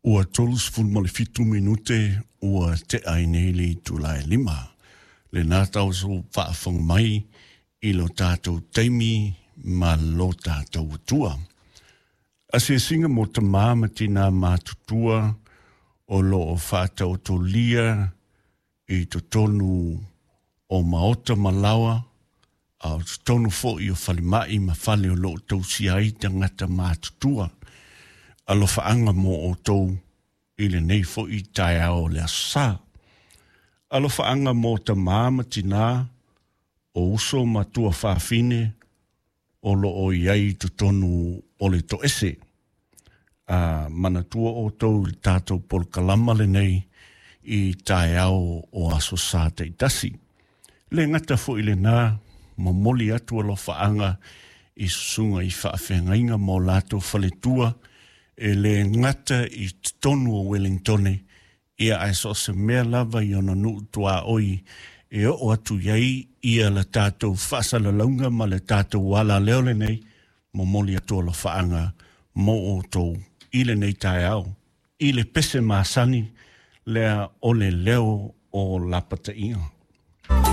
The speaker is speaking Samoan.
Ua 37 minute ua tea ai nei le itula e 5. Lena tauso faafofoga mai i lo tatou taimi ma lo tatou Atua. Asiasiga mo tamā ma tinā matutua o lo o faataotolia i totonu o maota ma laoa, a o totonu foi o falemai ma fale o lo o tausia ai tagata matutua. Alofaaga mo outou i lenei foi taeao o le Aso Sa. Alofaaga mo tamā ma tinā o uso ma tuafafine o lo o i ai i totonu o le toese. A manatua outou i le tatou polokalama lenei i taeao o Aso Sa taitasi. Le gata foi lena, momoli atu alofaaga i susuga i faafeagaiga ma o latou faletua e le gata i totonu o Wellingtone, ia ae so o se mea lava i ona nuu tuaoi e oo atu i ai ia le tatou faasalalauga ma le tatou alaleo lenei, momoli atu alofaaga mo outou i lenei taeao i le pese masani lea o le leo o lapataiga.